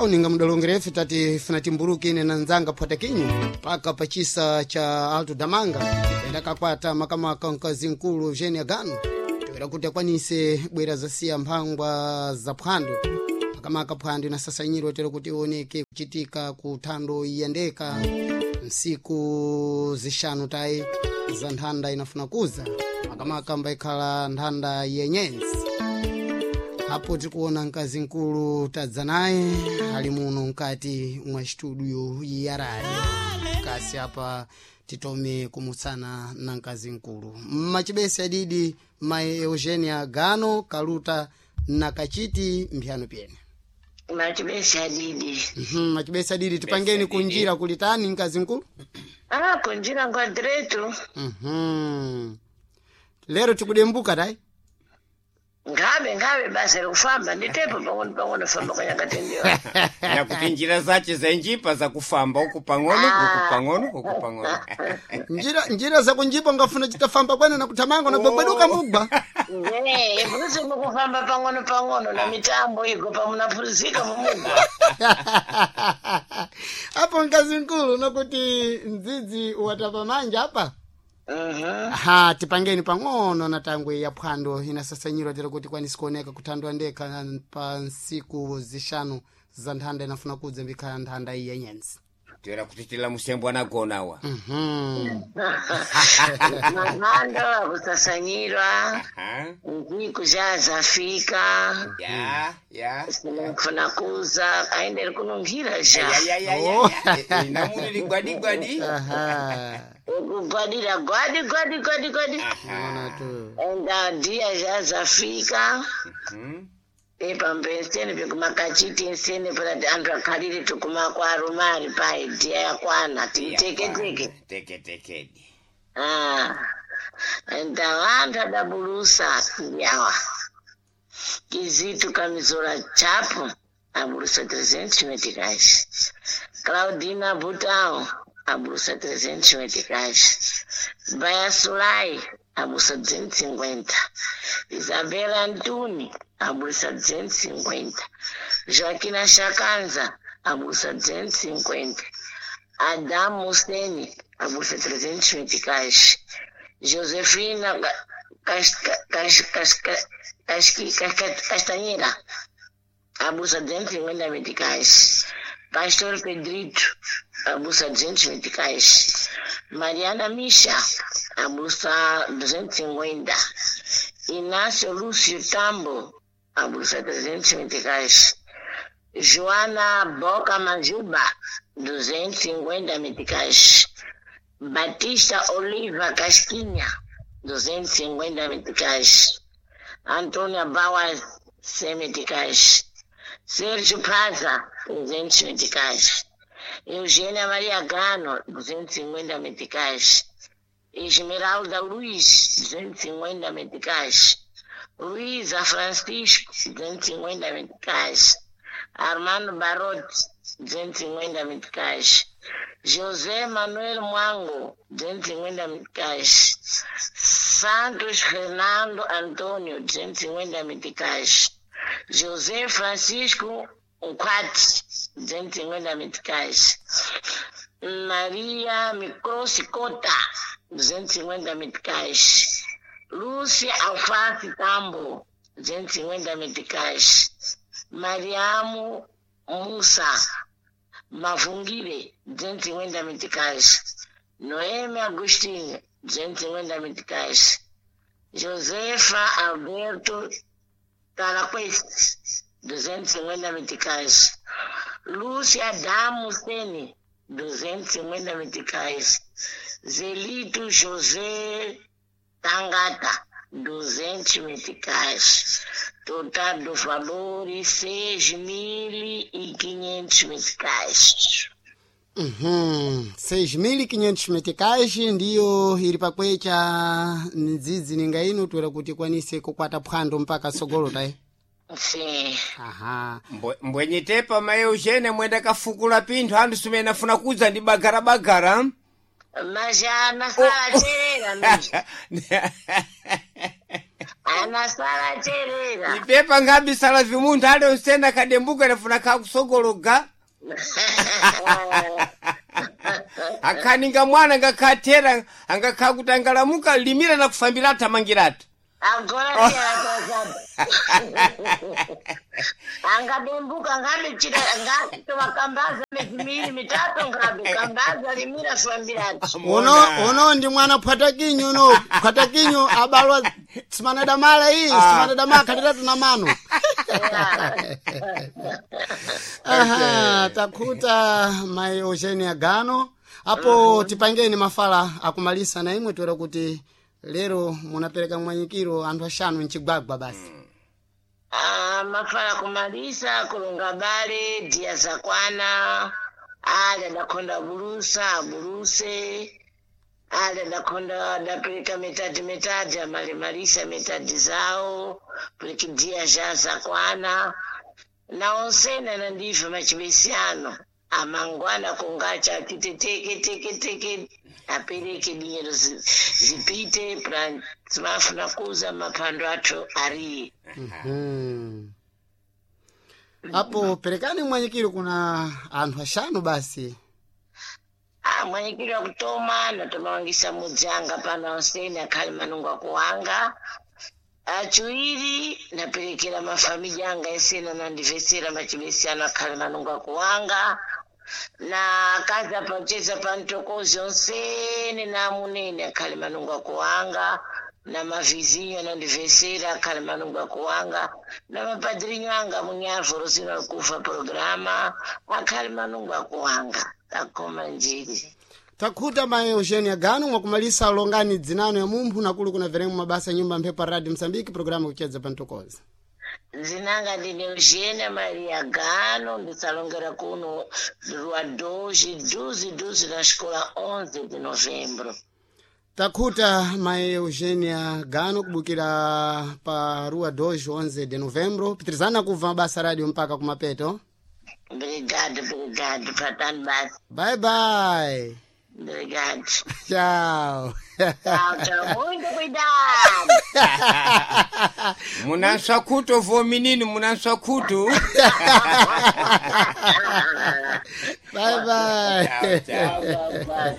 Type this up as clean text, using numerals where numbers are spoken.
Ninga mudalongerefe tati funa timburuki ine na nzanga phwatakinyu paka pachisa cha Alto Damanga endakakwata makamaka mkazi mkulu Eugenia Gano toera kuti akwanise bwera zasiya mphangwa za phwando, makamaka phwando inasasanyiro tero kuti ioneke kuchitika ku thando iyendeka nsiku zixanu tayi za nthanda inafuna kuza, makamaka mbaikhala nthanda yenyenzi. Apo tikuona mkazi mkulu tadza naye ali muno mkati mwa studio ya radio kasi. Apa titome kumutsana na mkazi mkulu mmachibesi adidi mai Eugenia Gano Kaluta na kachiti mphiyano pyene. Machibesi adidi. Machibesi adidi, tipangeni adidi. Kunjira kulitani, mkazi mkulu? Ah, kunjira kwa diretu. Lero tikudembuka tayi. Ngabe ngabe basa likufamba nditepo pang'ono pang'ono famba kanyakatendewa. Nakuti njira zace zainjipa zakufamba uku pang'ono, uku pang'ono, uku pang'ono. Njira zakunjipa ngafuna chitafamba kwene na kuthamanga na gwegweduka mugwa. Nge brusi mukufamba pang'ono pang'ono na mitambo igo pamunaphunzika mumugwa. Apo mkazi mkulu, nokuti mdzidzi watapa manja apa. Ha, tipangeni pang'ono na tangwe ya phwando inasasanyirwa tera kuti kwanisi kuoneka kuthandwa ndekha pa nsiku zixanu za nthanda inafuna kudza mbikhala nthanda iyi yenyenzi. Toera kuti tila musembo anagonawa. Mahando akusasanyirwa Aha. nziku zhazafika. Ya ya. Sinafuna kuza aenderi kunungira zha. Ya ya ya ya. Ya. Namuli gwadi gwadi. Aha. Kugwadira gwadi gwadi gwadi gwadi. Ona tu. Enda dia zhazafika. Epambeseni pekumakachiti ensene pakati anthu akhalire tikumakwarumari pai dia yakwana tiiteketeke. Teke tekedi. Ah, enda vanthu adabulusa ndiawa Kizito Kamizola Chapo abulusa 300 meticais, Claudina Butão abulusa 300 meticais, Baia Sulai abulusa 250, Isabela Antuni abulusa 250, Joaquina Chakanza abulusa 250, Adam Hussein abulusa 300 meticais, Josefina Castanheira abusa 250 meticais, Pastor Pedrito abusa 200 meticais, Mariana Misha abusa 250, Inácio Lúcio Tambo abusa 300 meticais, Joana Boca Majuba 250 meticais, Batista Oliva Casquinha 250 meticais, Antônia Bauer 100 meticais, Sérgio Praza 200 meticais, Eugênia Maria Gano 250 meticais, Esmeralda Luiz 250 meticais, Luísa Francisco 250 meticais, Armando Barotti 250 meticais, José Manuel Mwango 250 meticais, Santos Fernando Antônio 250 meticais, José Francisco Nkwati 250 meticais, Maria Microsi Cota 250 meticais, Lúcia Alface Tambo 250 meticais, Mariamo Musa Mavungire 250 meticais, Noemi Agostinho 250 meticais, Josefa Alberto Talaquest 250 meticais, Lúcia Damo Sene 250 meticais, Zelito José Tangata 200 meticais. Total do valor 6.500 meticais. 6.500 meticais ndiyo ili pakwecha mdzidzi ninga ino toera kuti ikwanise kukwata phwando mpaka sogolo tayi. Sim. Aha. Mbwenyitepa mai Eugenia mwenda kafukula pinthu anthu simene afuna kudza ndi bagarabagara. Mas já na sala terera, mas Anasala cherera. Ipepa ngabisala vimunthu ali onsene akadembuka nafuna kakusogologa. Akhaninga mwana ngakhathera angakha kuti angalamuka limira na kufambira athamangiratu. Agora tera. Angadembuka ngabe chira ngatovakambaza mezi miiri mitatu ngabe kambaza limira fambiratu. Uno uno ndi mwana phwatakinyu uno phwatakinyu abalwa simanadamala iyi simanadamala khaliratu na mano. Aha, takhuta mai Eugenia Gano apo tipangeni mafala akumalisa na imwe toera kuti lero munapereka mwanyikiro anthu axanu mchigwagwa basi. Ah, mafala kumalisa kulunga bale dia zakwana ali adakhonda bulusa abuluse ali adakhonda adapereka mitadi mitadi amalimalisa mitadi zawo puliki dia ja zakwana na onsene anandiva machibesiano amangwana kungacha achite teke teke teke apereke dinyero zipite pra timafuna kuza maphando athu ariye. Mhm. Apo perekani mwanyikiro kuna anthu axanu basi. Ah, mwanyikiro akutoma natomawangisa mudzanga pano ansene akhali manungo akuwanga. Achiwiri naperekera mafamili anga esena nandivesera machibesiano akhali manungo akuwanga na akazi apacheza pa mtokozi onsene na amunene akhali manungo akuwanga na mavizinho anandivesera akhali manungo akuwanga na mapadrinho anga munyavu rosino alikufa programa akhali manungo akuwanga akoma njiri. Takhuta mai Eugenia Gano mwakumalisa longani dzinano ya mumphu nakulu kuna veremu mabasa nyumba mphepo ya Radio Msambiki programu kuchedza pa mtokozi. Dzinanga ndine Eugenia Maria Gano ndisalongera kuno rua 2 12 12 na escola 11 de novembro. Takhuta mai Eugenia Gano kubukira pa rua 2 11 de novembro pitirizana kubva mabasa radio mpaka kumapeto. Obrigado, obrigado, patani basi. Bye bye. Obrigado. Tchau. Tchau, tchau. Muito cuidado. Munanswa khutu vo minini munanswa khutu. Bye bye. Tchau, tchau. Tchau, tchau.